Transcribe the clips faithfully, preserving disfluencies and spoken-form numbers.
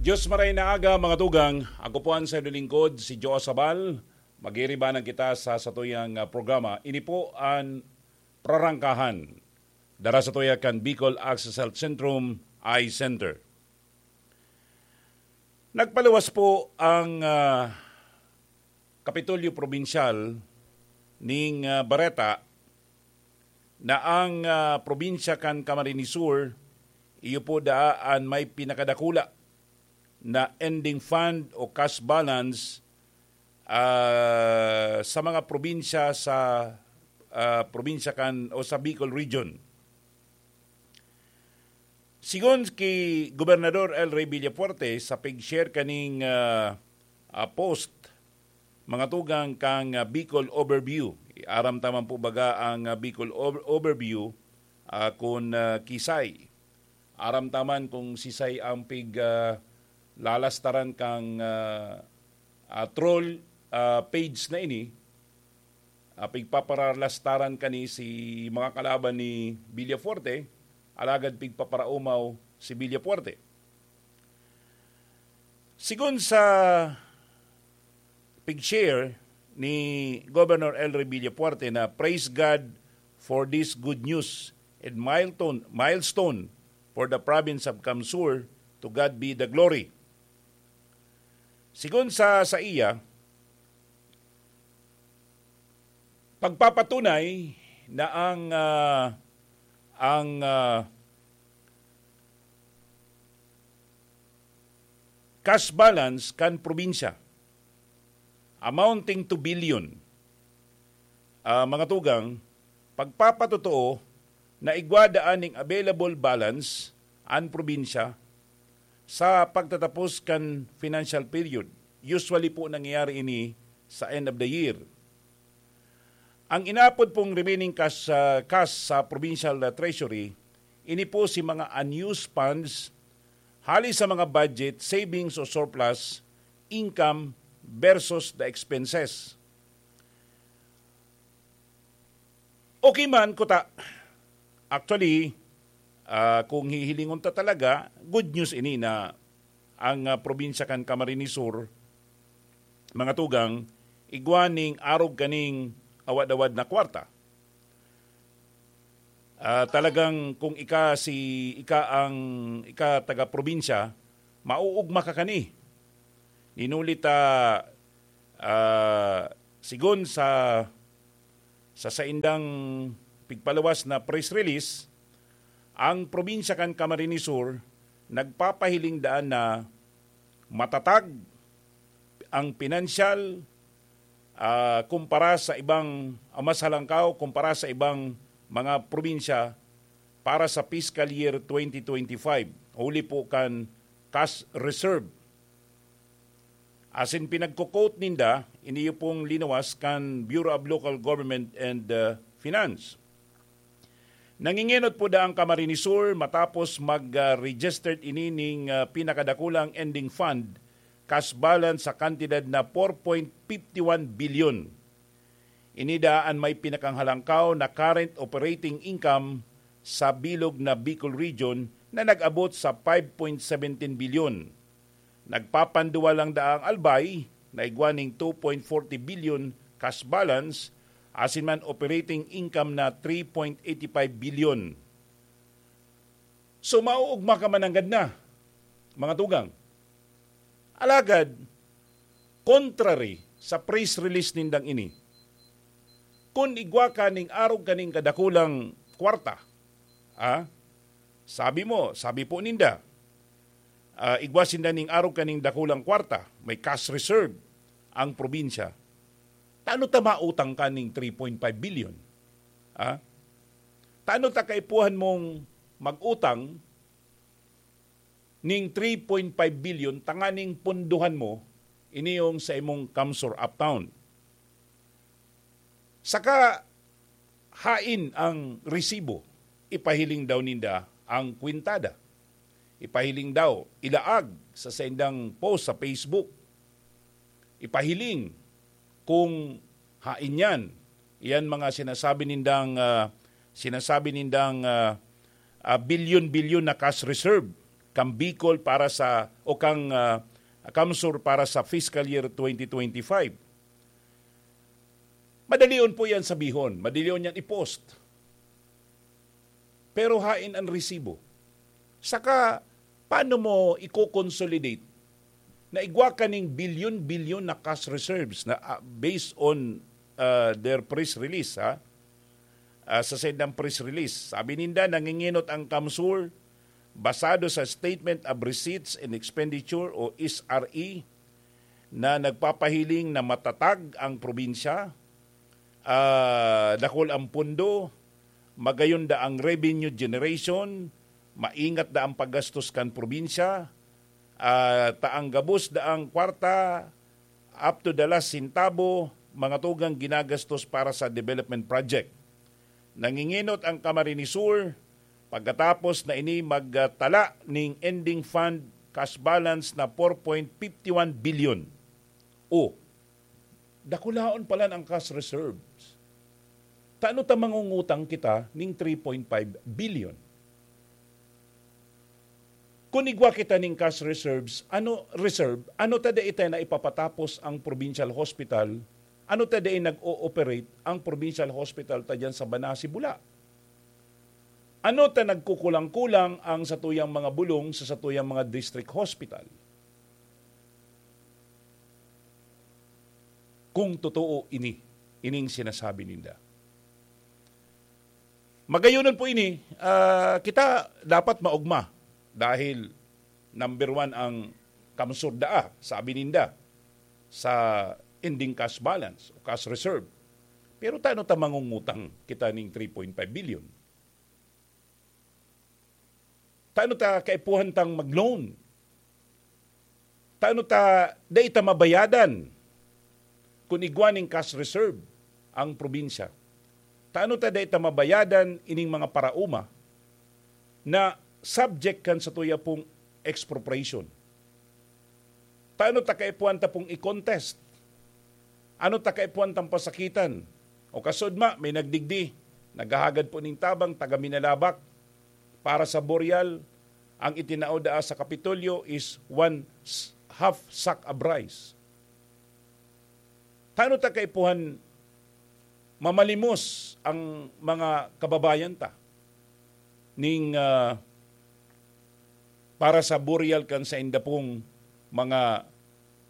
Diyos maray na aga, mga tugang. Ako po ang sa lingkod, si Joe Sabal. Magiribanan kita sa satuyang ah, programa. Ini po ang Prarangkahan. Dara sa tuya kan Bicol Access Health Centrum, Eye Center. Nagpaluwas po ang ah, Kapitolyo Probinsyal ning ah, bareta na ang ah, probinsya kan Camarines Sur iyo po daa an may pinakadakula na ending fund o cash balance ah, sa mga probinsya sa ah, probinsya kan o sa Bicol Region. Sigon ki Gobernador El Rey Villafuerte sa pig-share kaning ah, ah, post, mga tugang, kang ah, Bicol Overview. Aram ta man po baga ang ah, Bicol Over- Overview ah, kun ah, kisay. Aram ta man kung sisay ang pig ah, lalastaran kang ah, ah, troll ah, page na ini. Ah, pigpaparalastaran kani si mga kalaban ni Villafuerte, alagad pigpaparaumaw si Villafuerte. Sigon sa pig-share ni Governor El Rey Villafuerte na, "Praise God for this good news and milestone, milestone for the province of Camsur. To God be the glory." Sigon sa saiya, pagpapatunay na ang ah, ang ah, cash balance kan probinsya amounting to billion. Ah, mga tugang, pagpapatotoo na igwa daan ning available balance an probinsya sa pagtatapos kan financial period. Usually po nangyayari ini sa end of the year. Ang inapod pong remaining cash, ah, cash sa provincial ah, treasury, ini po si mga unused funds hali sa mga budget, savings o surplus, income versus the expenses. Okay man, kuta. Actually, ah, kung hihilingon ta talaga, good news ini na ang ah, probinsya kan Camarines Sur, mga tugang, igwa ning arog kaning awad-awad na kwarta. Ah, talagang kung ika si ika ang ika taga probinsya, mauugma ka kani. Ninuli ta ah, sigon sa sa saindang pigpaluwas na press release, ang probinsya kan Camarines Sur nagpapahiling daan na matatag ang pinansyal ah, kumpara sa ibang, ah, mas halangkaw kumpara sa ibang mga probinsya para sa fiscal year twenty twenty-five, huli po kan cash reserve. Asin pinagko-quote ninda, iniyo pong linawas kan Bureau of Local Government and ah, Finance. Nangingenot po daa ang Camarines Sur matapos mag-registered ini ning ah, pinakadakulang ending fund, cash balance sa kantidad na four point fifty one bilyon. Ini daa an may pinakanghalangkaw na current operating income sa bilog na Bicol Region na nag-abot sa five point seventeen bilyon. Nagpapanduwa lang daa ang Albay na igwa ning two point forty bilyon cash balance, asin man operating income na three point eighty five bilyon. So, mauugma ka mananggad na, mga tugang. Alagad, contrary sa press release nindang ini, kun igwa ka ning arog kaning kadakulang kwarta, ah, sabi mo, sabi po ninda, ah, igwa sinda ning arog kaning dakulang kwarta, may cash reserve ang probinsya. Tano ta mautang ka ning three point five bilyon? Ah? Tano ta kaipuhan mong mag-utang ning three point five bilyon tanganing punduhan mo ini yung sa imong Kamsur Uptown? Saka hain ang resibo, ipahiling daw ninda ang kwentada. Ipahiling daw, ilaag sa saindang post sa Facebook. Ipahiling kung hain yan. Iyan mga sinasabi nindang, ah, sinasabi nindang, ah, ah, bilyon-bilyon na cash reserve. kang Bicol para sa, o kang, ah, CamSur para sa fiscal year twenty twenty-five. Madalion po yan sabihon, madalion yan i-post. Pero hain an resibo? Saka, paano mo i-consolidate na igwa ka ning bilyon-bilyon na cash reserves na, ah, based on, ah, their press release, ha? Ah, sa saindang press release, sabi ninda, nanginginot ang CamSur basado sa Statement of Receipts and Expenditure o S R E na nagpapahiling na matatag ang probinsya, ah, dakul ang pundo, magayon da ang revenue generation, maingat da ang paggastos kan probinsya, ah, ta ang gabos daang kwarta, up to the last centavo, mga tugang ginagastos para sa development project. Nanginginot ang Camarines Sur pagkatapos na ini magtala ning ending fund cash balance na four point fifty one billion. O, dakulaon pala ang cash reserves. Tano ta mangungutang kita ning three point five billion? Kun igwa kita ning cash reserves, ano, reserve, ano ta dai ta na ipapatapos ang provincial hospital? Ano ta dai nag-o-operate ang provincial hospital ta diyan sa Banasi, Bula? Ano ta nagkukulang-kulang ang satuyang mga bulong sa satuyang mga district hospital? Kung totoo ini, ining sinasabi ninda. Magayonon po ini, ah, kita dapat maogma dahil number one ang CamSur daa, sabi ninda, sa ending cash balance o cash reserve. Pero tano ta mangungutang kita ning three point five billion? Tano ta kaipuhan tang mag-loan? Tano ta dai ta mabayadan kun igwa ning cash reserve ang probinsya? Tano ta dai ta mabayadan ining mga paraoma na subject kan satuya pong expropriation? Tano ta kaipuhan ta pong i-contest? Ano ta kaipuhan tang pasakitan? O kasudma, may nagdigdi, naghahagad po ning tabang, taga Minalabac, para sa burial, ang itinao daa sa Kapitolyo is one s-, half sack of rice. Tano ta kaipuhan mamalimos ang mga kababayan ta ning, ah, para sa burial kan sainda pong mga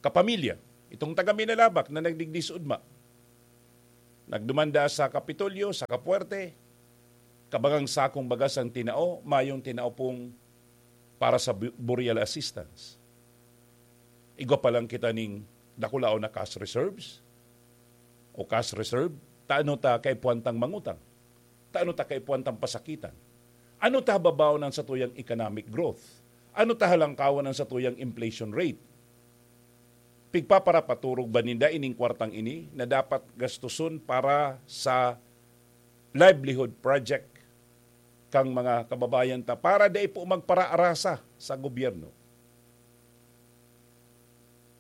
kapamilya? Itong taga Minalabac na nagdigdi sa ugma, nagduman daa sa Kapitolyo, sa Kapuwerte, kabagang sakong bagas ang tinao, mayong tinao pong para sa bu-, burial assistance. Igwa pa lang kita ning dakulaon na cash reserves o cash reserve, tano ta kaipuhan tang mangutang? Tano ta kaipuhan tang pasakitan? Ano ta hababaon ang satuyang economic growth? Ano ta halangkawan ang satuyang inflation rate? Pigpaparapaturog ba ninda ining kwartang ini na dapat gastuson para sa livelihood project kang mga kababayan ta para dai po magparaarasa sa gobyerno?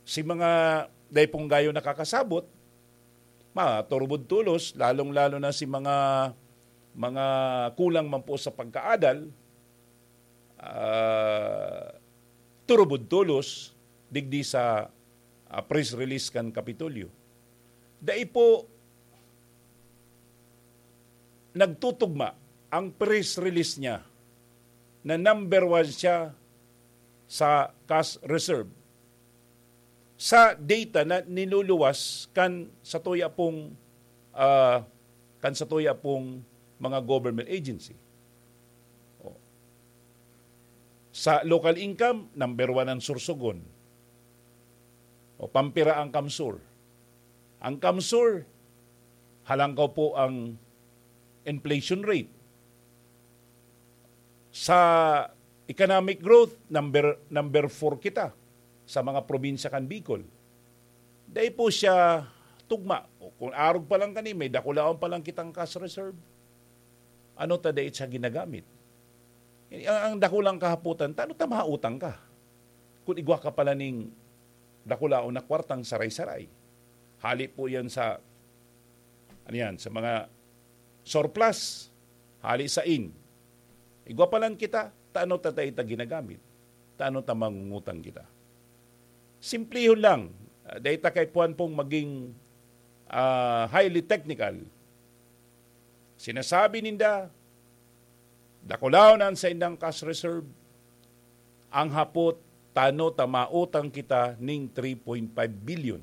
Si mga dai pong gayo nakakasabot, maturubod tolos, lalong-lalo na si mga, mga kulang man po sa pagkaadal, ah, turubod tolos digdi sa, ah, press release kan Kapitolyo. Dai po nagtutugma ang press release niya na number one siya sa cash reserve sa data na niluluwas kan satuya pong, ah, kan satuya pong mga government agency. O. Sa local income, number one ang Sorsogon. O, pampira ang CamSur. Ang CamSur, halangkaw po ang inflation rate. Sa economic growth, number, number four kita sa mga probinsya kan Bicol. Dai po siya tugma. O, kung arog pa lang kani, may dakulaon pa lang kitang cash reserve. Ano ta dai siya ginagamit? Ang, ang dakulang kahapotan, tano ta mautang ka? Kung igwa ka pala ning dakulaon na kwartang saray-saray. Hali po yan sa, ano yan, sa mga surplus, hali sa in. Igwa pa lang kita, tano ta dai ta ginagamit? Tano ta mangungutang kita? Simplihon lang. Ah, dai ta kaipuhan pong maging, ah, highly technical. Sinasabi ninda, dakulaon an saindang cash reserve. Ang hapot, tano ta mautang kita ning three point five billion,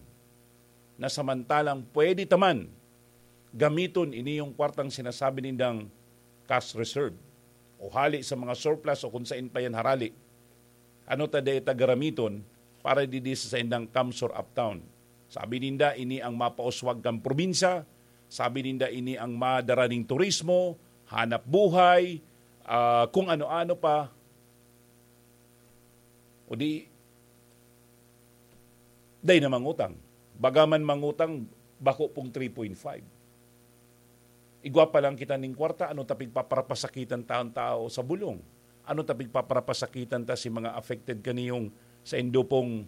na samantalang pwede ta man gamiton ini yung kwartang sinasabi nindang cash reserve, o hali sa mga surplus, o kung sain pa yan harali. Ano ta dai ta garamiton para didi sa saindang CamSur Uptown? Sabi ninda, ini ang mapauswag kan probinsya. Sabi ninda, ini ang madara ning turismo, hanap buhay, ah, kung ano-ano pa. O di, dai na mangutang. Baga man mangutang, bako pong three point five. Igwa pa lang kita ning kwarta, ano ta pigpaparapasakitan ta an tao sa bulong? Ano ta pigpaparapasakitan ta si mga affected kaniyong saindo pong,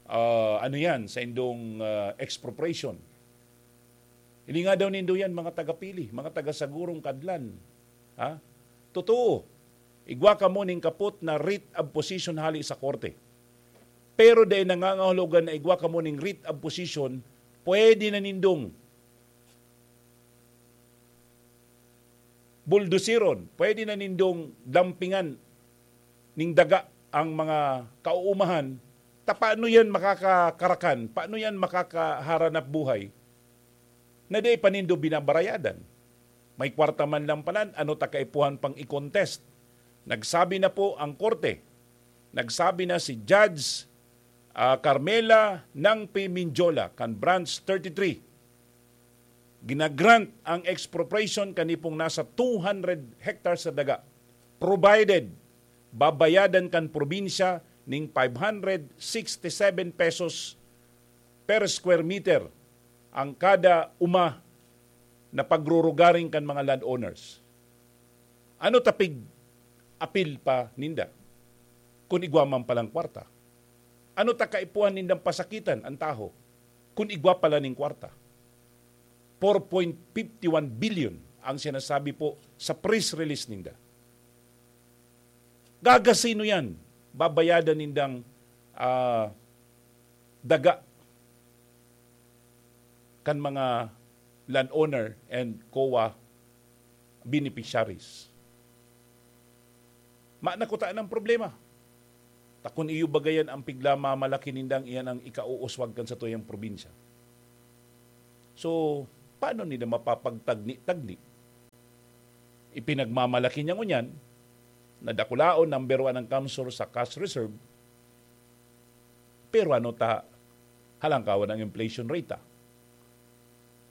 ah, ano yan, saindong, ah, expropriation? Hilinga daw nindo yan, mga taga-Pili, mga taga-Sagurong, Kadlan. Ha? Totoo, igwa kamo ning kapot na writ of possession hali sa korte. Pero dai nangangahulugan na igwa kamo ning writ of possession, pwede na nindong buldusiron, pwede na nindong dampingan ning daga ang mga kauumahan, ta paano yan makakakarakan? Paano yan makakaharanap buhay na dai pa nindo binabarayadan? May kwarta man lang palan, ano ta kaipuhan pang i-contest? Nagsabi na po ang korte. Nagsabi na si Judge, ah, Carmela Nangpi Mindiola kan Branch thirty-three. Ginagrant ang expropriation kani pong nasa two hundred hectares sa daga, provided babayadan kan probinsya ning five hundred sixty-seven pesos per square meter ang kada uma na pagrurugaring kan mga landowners. Ano ta pig-apil pa ninda kun igwa man palang kwarta? Ano ta kaipuhan nindang pasakitan an taho kun igwa pala ning kwarta? Four point fifty one billion ang sinasabi po sa press release ninda. Gagasino yan? Babayadan nindang, ah, daga kan mga landowner and COA beneficiaries. Maana kuta ng problema. Ta kun iyo bagayan ang pigla mamalaki nindang, iyan ang ikauuswag kan satuyang probinsya. So, paano nila mapapagtagni-tagni? Ipinagmamalaki niya ngunyan na dakulaon, number one ang CamSur sa cash reserve, pero ano ta halangkawan ang inflation rate ta?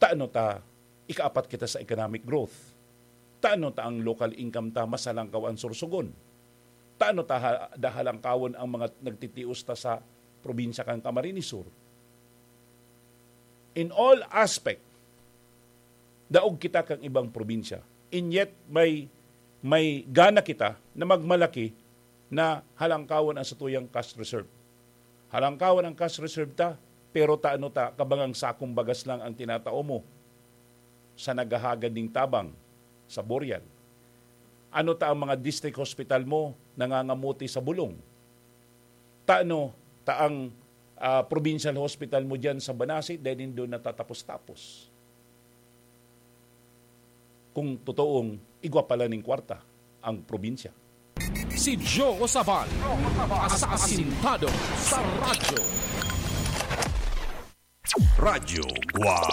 Tano ta ikaapat kita sa economic growth? Tano ta ang local income ta mas halangkaw an sursugon? Tano ta ha-, da halangkawon ang mga nagtitios ta sa probinsya kan Camarines Sur? In all aspect, daog kita kan ibang probinsya. And yet, may, may gana kita na magmalaki na halangkawon ang satuyang cash reserve. Halangkawon ang cash reserve ta, pero ta ano ta, kabangang sakong bagas lang ang tinatao mo sa naghahagad ning tabang sa Burial? Ano ta ang mga district hospital mo nangangamuti sa bulong? Ta ano ta ang, ah, provincial hospital mo diyan sa Banasi, dahil nindo natatapos-tapos? Kung totoong igwa pala ning kwarta ang probinsya. Si Joe Sabal, asasintado sa radyo. Radyo Guam.